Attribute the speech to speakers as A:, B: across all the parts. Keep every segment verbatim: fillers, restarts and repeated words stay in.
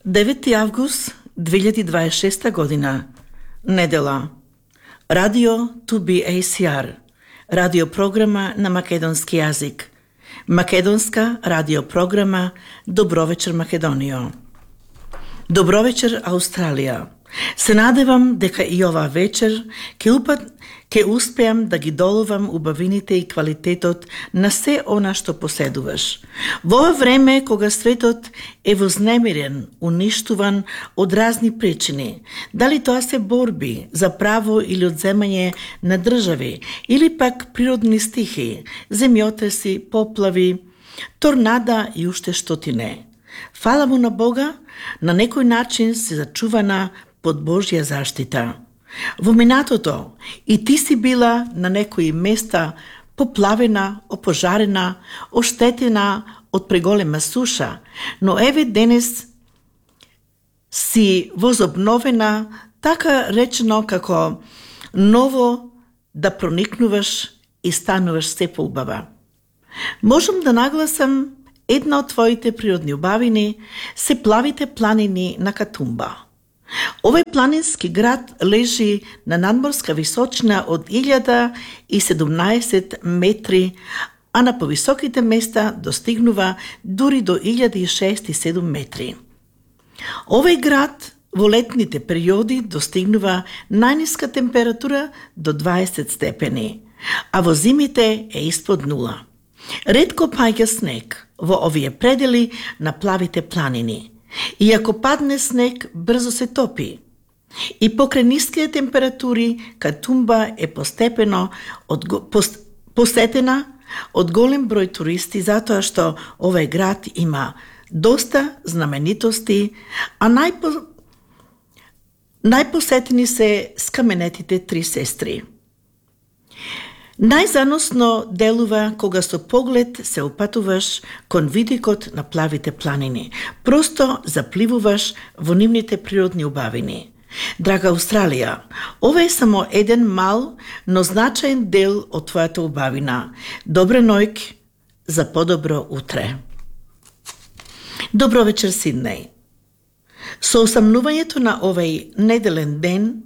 A: девети август две илјади дваесет и шеста година, недела. Радио ту би ей си ар, радиопрограма на македонски јазик. Македонска радиопрограма Добро вечер Македонијо. Добро вечер Аустралија. Се надевам дека и ова вечер ке упат ке успеам да ги доловам убавините и квалитетот на се она што поседуваш. Во ова време кога светот е вознемирен, уништуван од разни причини, дали тоа се борби за право или одземање на држави, или пак природни стихии, земјотреси, поплави, торнада и уште што ти не. Фала му на Бога, на некој начин се зачувана под Божја заштита. Во минатото и ти си била на некои места поплавена, опожарена, оштетена од преголема суша, но еве денес си возобновена, така речено како ново да проникнуваш и стануваш се поубава. Можам да нагласам една од твоите природни убавини се плавите планини на Катумба. Овој планински град лежи на надморска височина од илјада и седумнаесет метри, а на повисоките места достигнува дури до илјада и шест и седум метри. Овој град во летните периоди достигнува најниска температура до дваесет степени, а во зимите е испод нула. Ретко паѓа снег во овие предели на плавите планини. И ако падне снег, брзо се топи. И покрај ниските температури, Катумба е постепено од, пост, посетена од голем број туристи, затоа што овој град има доста знаменитости, а најпо, најпосетени се скаменетите три сестри. Најзаносно делува кога со поглед се опатуваш кон видикот на плавите планини. Просто запливуваш во нивните природни убавини. Драга Австралија, ова е само еден мал, но значаен дел од твојата убавина. Добре нојк за подобро утре. Добро вечер, Сиднеј. Со осамнувањето на овој неделен ден,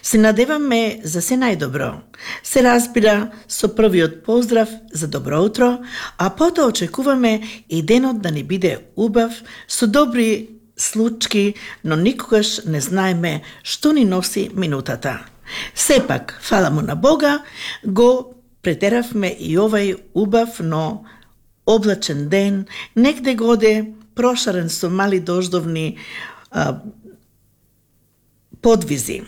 A: се надеваме за се најдобро. Се разбира со првиот поздрав за добро утро, а потоа очекуваме и денот да ни биде убав, со добри случки, но никогаш не знаеме што ни носи минутата. Сепак, фала му на Бога, го претеравме и овај убав, но облачен ден, негде годе прошарен со мали дождовни а, подвизи.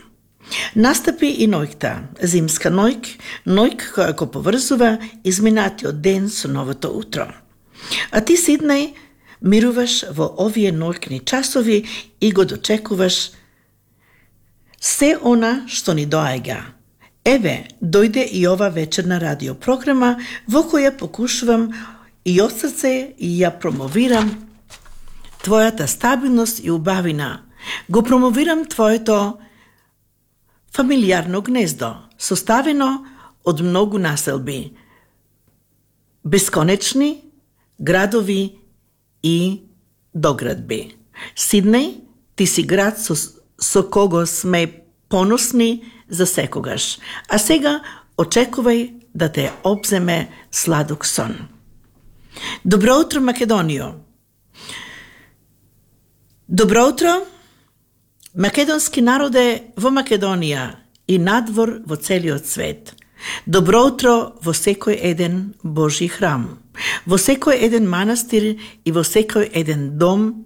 A: Настапи и ноќта, зимска ноќ, ноќ која го поврзува изминатиот ден со новото утро. А ти, Сиднеј, мируваш во овие ноќни часови и го дочекуваш се она што ни доаѓа. Еве, дојде и ова вечерна радиопрограма во која покушувам и од срце и ја промовирам твојата стабилност и убавина. Го промовирам твоето фамилијарно гнездо, составено од многу населби, бесконечни градови и доградби. Сиднеј, ти си град со, со кого сме поносни за секогаш, а сега очекувај да те обземе сладок сон. Добро утро, Македонијо! Добро утро, македонски народе во Македонија и надвор во целиот свет. Добро утро во секој еден Божји храм, во секој еден манастир и во секој еден дом,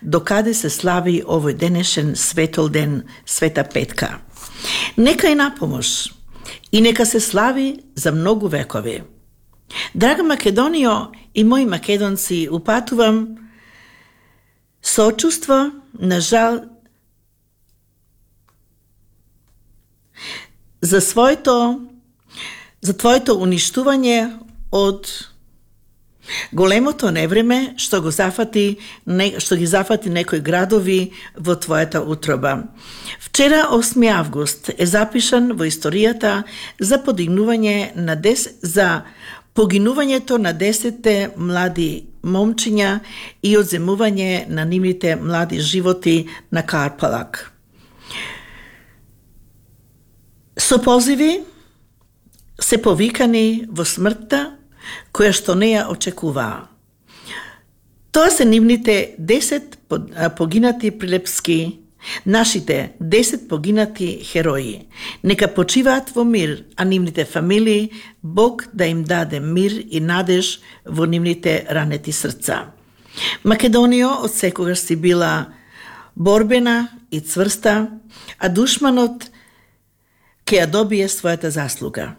A: докаде се слави овој денешен светол ден, Света Петка. Нека е напомош и нека се слави за многу векови. Драга Македонијо и мои македонци, упатувам сочувство, на жал, за своето за твоето уништување од големото невреме што го зафати не, што ги зафати некои градови во твојата утроба. Вчера, осми август, е запишан во историјата за подигнување на дес за погинувањето на десетте млади момчиња и одземување на нивните млади животи на Карпалак. Со позиви се повикани во смртта која што не ја очекуваа. Тоа се нивните десет погинати прилепски, нашите десет погинати херои. Нека почиваат во мир, а нивните фамилии Бог да им даде мир и надеж во нивните ранети срца. Македонија од секогаш си била борбена и цврста, а душманот ќе ја добие својата заслуга.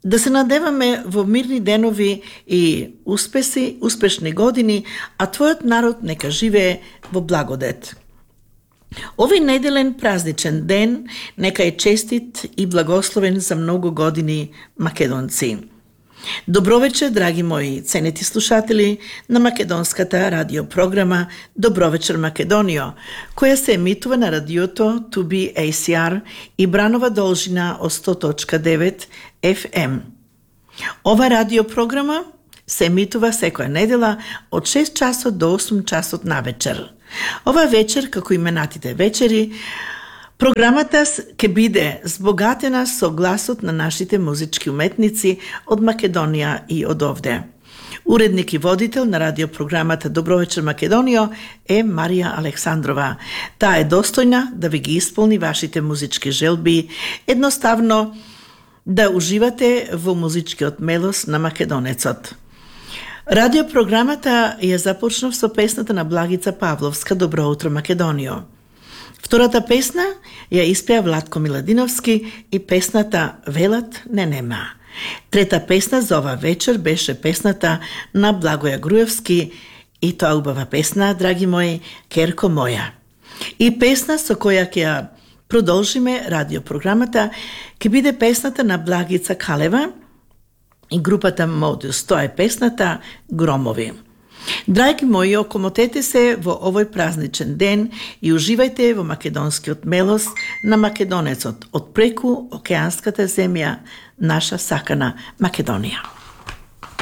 A: Да се надеваме во мирни денови и успеси, успешни години, а твојот народ нека живее во благодет. Овој неделен празничен ден нека е честит и благословен за многу години македонци. Добро вечер, драги мои ценети слушатели на македонската радиопрограма Добро вечер Македонио, која се емитува на радиото ту би ей си ар и бранова должина од сто точка девет еф ем. Ова радиопрограма се емитува секоја недела од шест часот до осум часот на вечер. Ова вечер, како именатите вечери, програмата ќе биде збогатена со гласот на нашите музички уметници од Македонија и од овде. Уредник и водител на радиопрограмата Добро вечер Македонио е Марија Александрова. Таа е достојна да ви ги исполни вашите музички желби, едноставно да уживате во музичкиот мелос на македонецот. Радиопрограмата ја започнав со песната на Благица Павловска Добро утро Македонио. Втората песна ја испеа Владко Миладиновски и песната Велат не нема. Трета песна за ова вечер беше песната на Благоја Груевски и тоа убава песна, драги мои, Керко моја. И песна со која ќе ја продолжиме радиопрограмата ќе биде песната на Благица Калева и групата Модус. Тоа е песната Громови. Драги мои, окомотете се во овој празничен ден и уживајте во македонскиот мелос на македонецот од преку океанската земја, наша сакана Македонија.